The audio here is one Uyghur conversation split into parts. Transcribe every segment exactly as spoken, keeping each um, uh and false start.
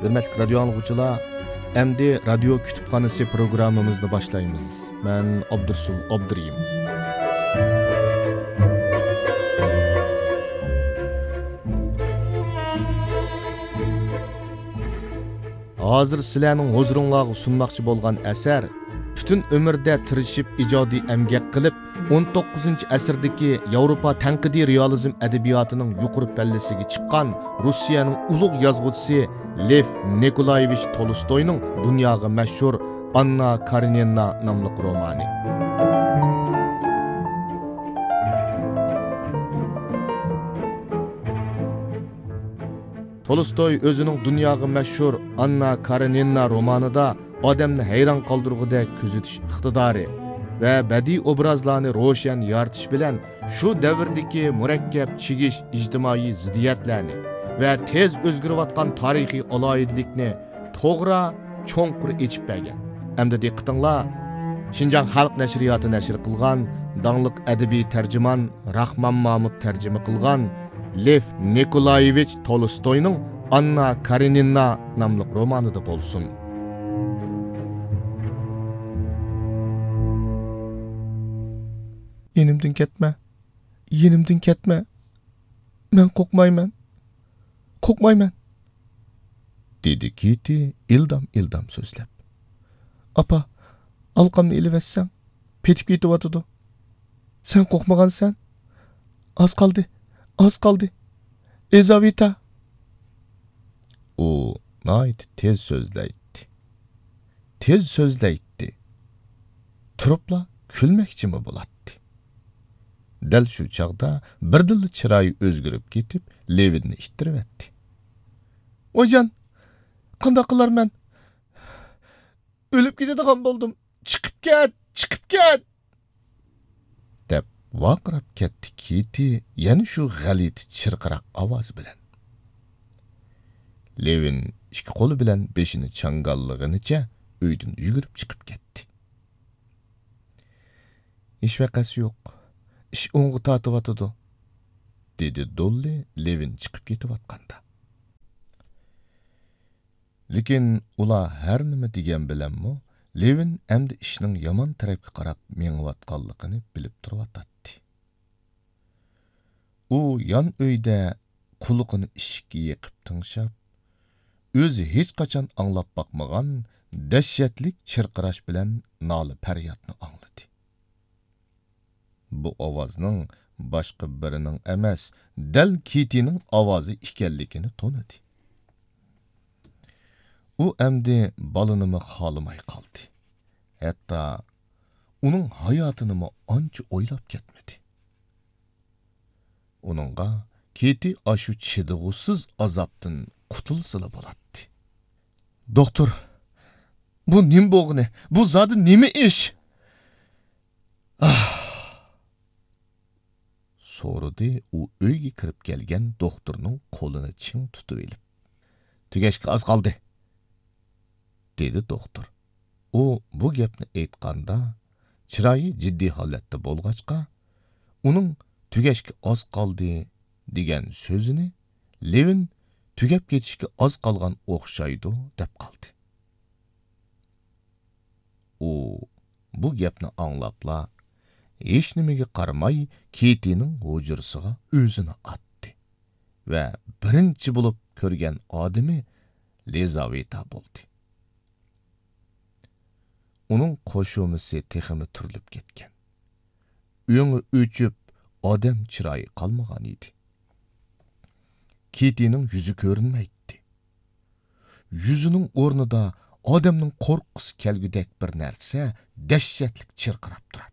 ھۆرمەتلىك رادىيو ئاڭلىغۇچىلار، ئەمدى رادىيو كۇتۇپخانىسى پروگراممىمىزنى باشلايمىز. مەن ئابدۇرسۇل ئابدۇرېھىم. ھازىر سىلەرنىڭ ھۇزۇرۇڭلارغا سۇنماقچى بولغان ئەسەر پۈتۈن ئۆمرىدە تىرىشىپ ئىجادىي ئەمگەك قىلىپ، ئون توققۇزىنچى ئەسىردىكى ياۋروپا تەنقىدىي رېئالىزم ئەدەبىياتىنىڭ يۇقىرى پەللىسىگە چىققان روسىيەنىڭ ئۇلۇغ يازغۇچىسى لېف نىكولايېۋىچ تولستوينىڭ دۇنياغا مەشھۇر ئاننا كارېنىنا ناملىق رومانى. تولستوي ئۆزىنىڭ دۇنياغا مەشھۇر ئاننا كارېنىنا رومانىدا ئادەمنى ھەيران قالدۇرغۇدەك كۆزىتىش ئىقتىدارى ۋە بەدىئىي ئوبرازلارنى روشەن يارىتىش بىلەن شۇ دەۋردىكى مۇرەككەپ چىگىش ئىجتىمائىي زىددىيەتلەرنى ۋە تېز ئۆزگىرىۋاتقان تارىخىي ئالاھىدىلىكنى توغرا، چوڭقۇر ئېچىپ بەرگەن. ئەمدى دىققىتىڭلار شىنجاڭ خەلق نەشرىياتى نەشر قىلغان داڭلىق ئەدەبىي تەرجىمان راخمان مامۇت تەرجىمە قىلغان لېف نىكولايېۋىچ تولستوينىڭ ئاننا كارېنىنا ناملىق رومانىدا بولسۇن. يېنىمدىن كەتمە، يېنىمدىن كەتمە. مەن قورقمايمەن، قورقمايمەن، دېدى كىتى ئىلدام-ئىلدام سۆزلەپ. ئاپا، ئالقامنى ئېلىۋەتسەڭ، پېتىپ كېتىۋاتىدۇ. سەن قورقمىغانسەن؟ ئاز قالدى، ئاز قالدى. ئېزاۋېتا! ئۇ ناھايىتى تېز سۆزلەيتتى. تېز سۆزلەيتتى. تۇرۇپلا كۈلمەكچىمۇ بولاتتى. دەل شۇ چاغدا بىردىنلا چىرايى ئۆزگىرىپ كېتىپ، لېۋىننى ئىتتىرىۋەتتى. ۋايجان، قانداق قىلارمەن؟ ئۆلۈپ كېتىدىغان بولدۇم. چىقىپ كەت، چىقىپ كەت! دەپ ۋارقىراپ كەتتى كىتى يەنە شۇ غەلىتە چىرقىراق ئاۋازى بىلەن. لېۋىن ئىككى قولى بىلەن بېشىنى چاڭگاللىغىنىچە ئۆيدىن يۈگۈرۈپ چىقىپ كەتتى. ھېچ ۋەقەسى يوق. ئىش ئوڭغا تارتىۋاتىدۇ، دېدى دوللى لېۋىن چىقىپ كېتىۋاتقاندا. لېكىن ئۇلار ھەر نېمە دېگەن بىلەنمۇ، لېۋىن ئەمدى ئىشنىڭ يامان تەرەپكە قاراپ مېڭىۋاتقانلىقىنى بىلىپ تۇرۇۋاتاتتى. ئۇ يان ئۆيدە قۇلىقىنى ئىشىككە يېقىپ تىڭشاپ، ئۆزى ھېچقاچان ئاڭلاپ باقمىغان دەھشەتلىك چىرقىراش بىلەن نالە-پەريادنى ئاڭلىدى. بۇ ئاۋازنىڭ باشقا بىرىنىڭ ئەمەس، دەل كىتىنىڭ ئاۋازى ئىكەنلىكىنى تونۇدى. ئۇ ئەمدى بالىنىمۇ خالىماي قالدى. ھەتتا ئۇنىڭ ھاياتىنىمۇ ئانچە ئويلاپ كەتمىدى. ئۇنىڭغا كىتى ئاشۇ چىدىغۇسىز ئازابتىن قۇتۇلسىلا بولاتتى. دوختۇر، بۇ نېمە بولغىنى؟ بۇ زادى نېمە ئىش؟ ئاھ! سورىدى ئۇ ئۆيگە كىرىپ كەلگەن دوختۇرنىڭ قولىنى چىڭ تۇتۇۋېلىپ. تۈگەشكە ئاز قالدى، دېدى دوختۇر. ئۇ بۇ گەپنى ئېيتقاندا، چىرايى جىددىي ھالەتتە بولغاچقا، ئۇنىڭ تۈگەشكە ئاز قالدى دېگەن سۆزىنى لېۋىن تۈگەپ كېتىشكە ئاز قالغان ئوخشايدۇ دەپ قالدى. ئۇ بۇ گەپنى ئاڭلاپلا، ھېچنېمىگە قارىماي كىتىنىڭ ھۇجرىسىغا ئۆزىنى ئاتتى ۋە بىرىنچى بولۇپ كۆرگەن ئادىمى لىزاۋېتا بولدى. ئۇنىڭ قوشۇمىسى تېخىمۇ تۈرۈلۈپ كەتكەن. ئۆڭى ئۆچۈپ، ئادەم چىرايى قالمىغان ئىدى. كىتىنىڭ يۈزى كۆرۈنمەيتتى. يۈزىنىڭ ئورنىدا ئادەمنىڭ قورققۇسى كەلگۈدەك بىر نەرسە دەھشەتلىك چىرقىراپ تۇراتتى.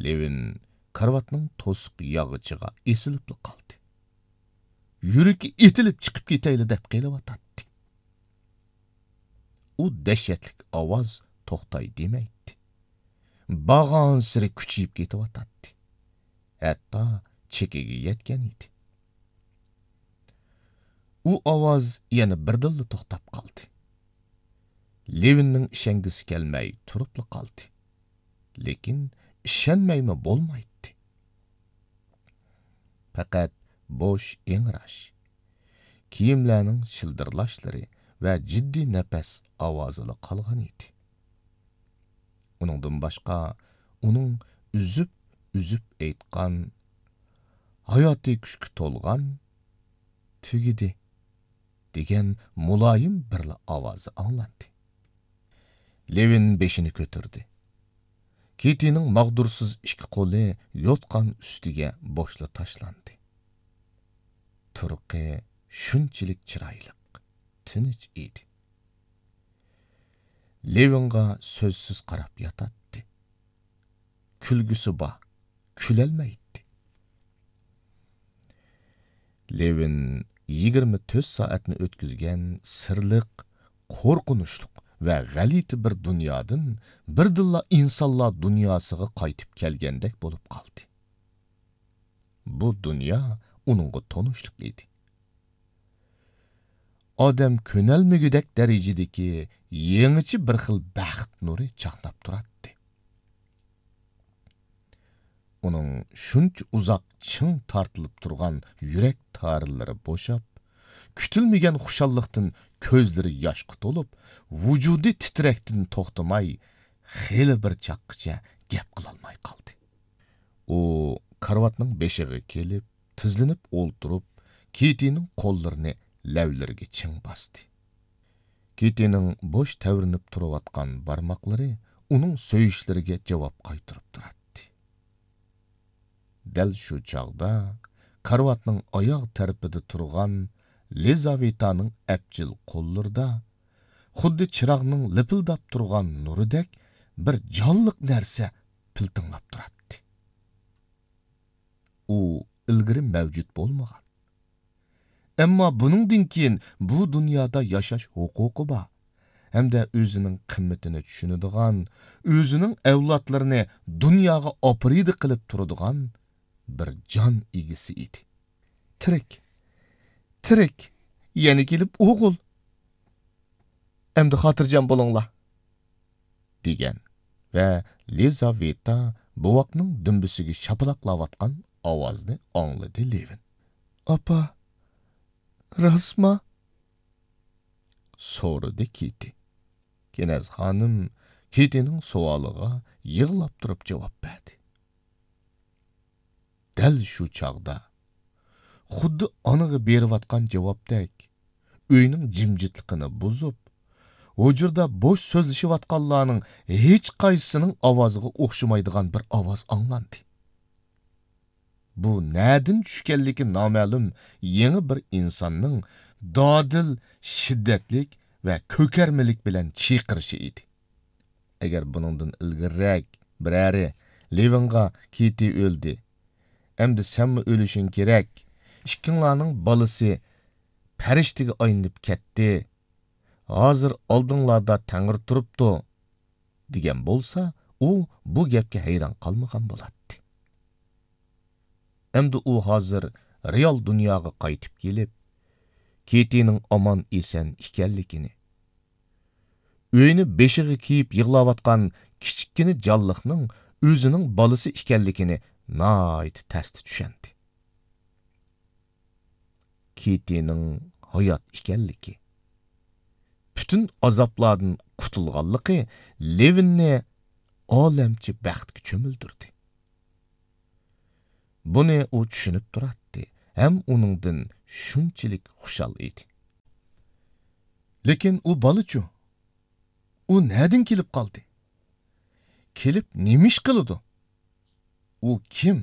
لېۋىن كارىۋاتنىڭ توسۇق ياغىچىغا ئېسىلىپلا قالدى. يۈرىكى ئېتىلىپ چىقىپ كېتەيلا دەپ قېلىۋاتاتتى. ئۇ دەھشەتلىك ئاۋاز توختاي دېمەيتتى. بارغانسېرى كۈچىيىپ كېتىۋاتاتتى. ھەتتا چېكىگە يەتكەن ئىدى. ئۇ ئاۋاز يەنە بىردىنلا توختاپ قالدى. لېۋىننىڭ ئىشەنگۈسى كەلمەي تۇرۇپلا قالدى. لېكىن ئىشەنمەيمۇ بولمايتتى. پەقەت بوش ئىڭراش. كىيىملەرنىڭ شىلدىرلاشلىرى ۋە جىددىي نەپەس ئاۋازىلا قالغان ئىدى. ئۇنىڭدىن باشقا، ئۇنىڭ ئۈزۈپ-ئۈزۈپ ئېيتقان، ھاياتىي كۈچكە تولغان، «تۈگىدى» دېگەن مۇلايىم بىرلا ئاۋازى ئاڭلاندى. لېۋىن بېشىنى كۆتۈردى. كىتىنىڭ ماغدۇرسىز ئىككى قولى يوتقان ئۈستىگە بوشلا تاشلاندى. تۇرقى شۇنچىلىك چىرايلىق، تىنچ ئىدى. لېۋىنغا سۆزسىز قاراپ ياتاتتى. كۈلگۈسى بار، كۈلەلمەيتتى. لېۋىن يىگىرمە تۆت سائەتنى ئۆتكۈزگەن سىرلىق، قورقۇنچلۇق ۋە غەلىتە بىر دۇنيادىن بىردىنلا ئىنسانلار دۇنياسىغا قايتىپ كەلگەندەك بولۇپ قالدى. بۇ دۇنيا ئۇنىڭغا تونۇشلۇق ئىدى. ئادەم كۆنەلمىگۈدەك دەرىجىدىكى يېڭىچە بىر خىل بەخت نۇرى چاقناپ تۇراتتى. ئۇنىڭ شۇنچە ئۇزاق چىڭ تارتىلىپ تۇرغان يۈرەك تارلىرى بوشاپ، كۈتۈلمىگەن خۇشاللىقتىن كۆزلىرى ياشقا تولۇپ، ۋۇجۇدى تىترەكتىن توختىماي، خېلى بىر چاغقىچە گەپ قىلالماي قالدى. ئۇ كارىۋاتنىڭ بېشىغا كېلىپ، تىزلىنىپ ئولتۇرۇپ، كىتىنىڭ قوللىرىنى لەۋلىرىگە چىڭ باستى. كىتىنىڭ بوش تەۋرىنىپ تۇرۇۋاتقان بارماقلىرى ئۇنىڭ سۆيۈشلىرىگە جاۋاب قايتۇرۇپ تۇراتتى. دەل شۇ چاغدا كارىۋاتنىڭ ئاياغ تەرىپىدە تۇرغان لىزاۋېتانىڭ ئەپچىل قوللىرىدا خۇددى چىراغنىڭ لىپىلداپ تۇرغان نۇرىدەك بىر جانلىق نەرسە پىلتىڭلاپ تۇراتتى. ئۇ ئىلگىرى مەۋجۇت بولمىغان، ئەمما بۇنىڭدىن كېيىن بۇ دۇنيادا ياشاش ھوقۇقى بار ھەمدە ئۆزىنىڭ قىممىتىنى چۈشىنىدىغان، ئۆزىنىڭ ئەۋلادلىرىنى دۇنياغا ئاپىرىدە قىلىپ تۇرىدىغان بىر جان ئىگىسى ئىدى. «تىرىك، تىرىك، يەنە كېلىپ ئوغۇل. ئەمدى خاتىرجەم بولۇڭلار.» دېگەن ۋە لىزاۋېتا بوۋاقنىڭ دۈمبىسىگە شاپىلاقلاۋاتقان ئاۋازنى ئاڭلىدى لېۋىن. «ئاپا، راستما؟» سورىدى كىتى. كېنەز خانىم كىتىنىڭ سوئالىغا يىغلاپ تۇرۇپ جاۋاب بەردى. دەل شۇ چاغدا، خۇددى ئانىغا بېرىۋاتقان جاۋابتەك، ئۆينىڭ جىمجىتلىقىنى بۇزۇپ، ھۇجرىدا بوش سۆزلىشىۋاتقانلارنىڭ ھېچقايسىسىنىڭ ئاۋازىغا ئوخشىمايدىغان بىر ئاۋاز ئاڭلاندى. بۇ نەدىن چۈشكەنلىكى نامەلۇم يېڭى بىر ئىنساننىڭ دادىل، شىددەتلىك ۋە كۆكەرمىلىك بىلەن چىقىرىشى ئىدى. ئەگەر بۇنىڭدىن ئىلگىرىرەك بىرەرى لېۋىنغا «كىتى ئۆلدى، ئەمدى سەنمۇ ئۆلۈشۈڭ كېرەك، ئىككىڭلارنىڭ بالىسى پەرىشتىگە ئايلىنىپ كەتتى، ھازىر ئالدىڭلاردا تەڭرى تۇرۇپتۇ» دېگەن بولسا، ئۇ بۇ گەپكە ھەيران قالمىغان بولاتتى. ئەمدى ئۇ ھازىر رېئال دۇنياغا قايتىپ كېلىپ، كىتىنىڭ ئامان-ئېسەن ئىكەنلىكىنى، ئۆينى بېشىغا كىيىپ يىغلاۋاتقان كىچىككىنە جانلىقنىڭ ئۆزىنىڭ بالىسى ئىكەنلىكىنى ناھايىتى تەستە چۈشەندى. كىتىنىڭ ھايات ئىكەنلىكى، پۈتۈن ئازابلاردىن قۇتۇلغانلىقى لېۋىننى ئالەمچە بەختكە چۆمۈلدۈردى. بۇنى ئۇ چۈشىنىپ تۇراتتى ھەم ئۇنىڭدىن شۇنچىلىك خۇشال ئىدى. لېكىن ئۇ بالىچۇ؟ ئۇ نەدىن كېلىپ قالدى؟ كېلىپ نېمە ئىش قىلىدۇ؟ ئۇ كىم؟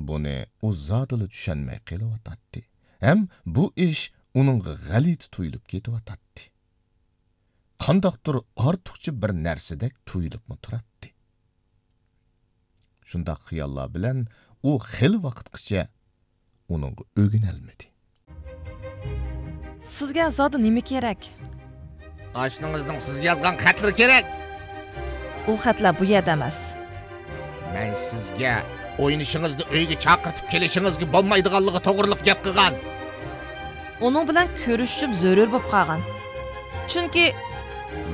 بۇنى ئۇ زادىلا چۈشەنمەي قېلىۋاتاتتى ھەم بۇ ئىش ئۇنىڭغا غەلىتە تۇيۇلۇپ كېتىۋاتاتتى. قانداقتۇر ئارتۇقچە بىر نەرسىدەك تۇيۇلۇپمۇ تۇراتتى. شۇنداق خىياللار بىلەن ئۇ خېلى ۋاقىتقىچە ئۇنىڭغا ئۆگىنەلمىدى. سىزگە زادى نېمە كېرەك؟ ئاشنىڭىزنىڭ سىزگە يازغان خەتلىرى كېرەك. ئۇ خەتلەر بۇ يەردە ئەمەس. مەن سىزگە ئوينىشىڭىزنى ئۆيگە چاقىرتىپ كېلىشىڭىزگە بولمايدىغانلىقى توغرىلىق گەپ قىلغان. ئۇنىڭ بىلەن كۆرۈشۈشۈم زۆرۈر بولۇپ قالغان. چۈنكى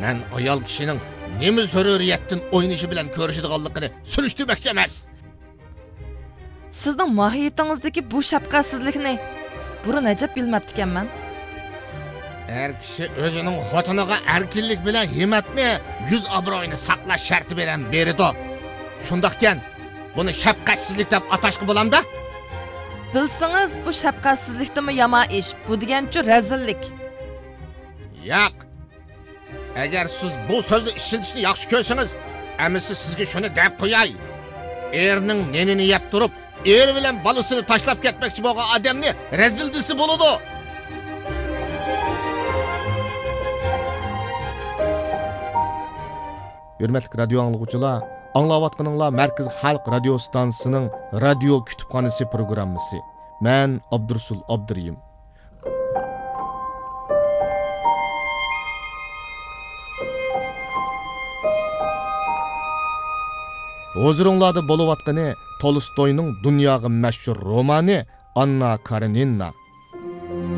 مەن ئايال كىشىنىڭ نېمە زۆرۈرىيەتتىن ئوينىشى بىلەن كۆرۈشىدىغانلىقىنى سۈرۈشتۈرمەكچى ئەمەس. سىزنىڭ ماھىيىتىڭىزدىكى بۇ شەپقەتسىزلىكنى بۇرۇن ئەجەب بىلمەپتىكەنمەن. ئەر كىشى ئۆزىنىڭ خوتۇنىغا ئەركىنلىك بىلەن ھىممەتنى، يۈز ئابرۇيىنى ساقلاش شەرتى بىلەن بېرىدۇ. شۇنداقكەن، بۇنى شەپقەتسىزلىك دەپ ئاتاشقا بولامدا؟ بىلسىڭىز، بۇ شەپقەتسىزلىكتىنمۇ يامان ئىش. بۇ دېگەنچۇ رەزىللىك. ياق. ئەگەر سىز بۇ سۆزنى ئىشلىتىشنى ياخشى كۆرسىڭىز، ئەمىسە سىزگە شۇنى دەپ قوياي. ئېرىنىڭ نېنىنى يەپ تۇرۇپ، ئېرى بىلەن بالىسىنى تاشلاپ كەتمەكچى بولغان ئادەمنى رەزىل دېسە بولىدۇ. ھۆرمەتلىك رادىيو ئاڭلىغۇچىلار، ئاڭلاۋاتقىنىڭلار مەركىزىي خەلق رادىيو ئىستانسىسىنىڭ رادىيو كۇتۇپخانىسى پروگراممىسى. مەن ئابدۇرۇسۇل ئابدۇرېھىم. ھۇزۇرۇڭلاردا بولۇۋاتقىنى تولستوينىڭ دۇنياغا مەشھۇر رومانى ئاننا كارېنىنا.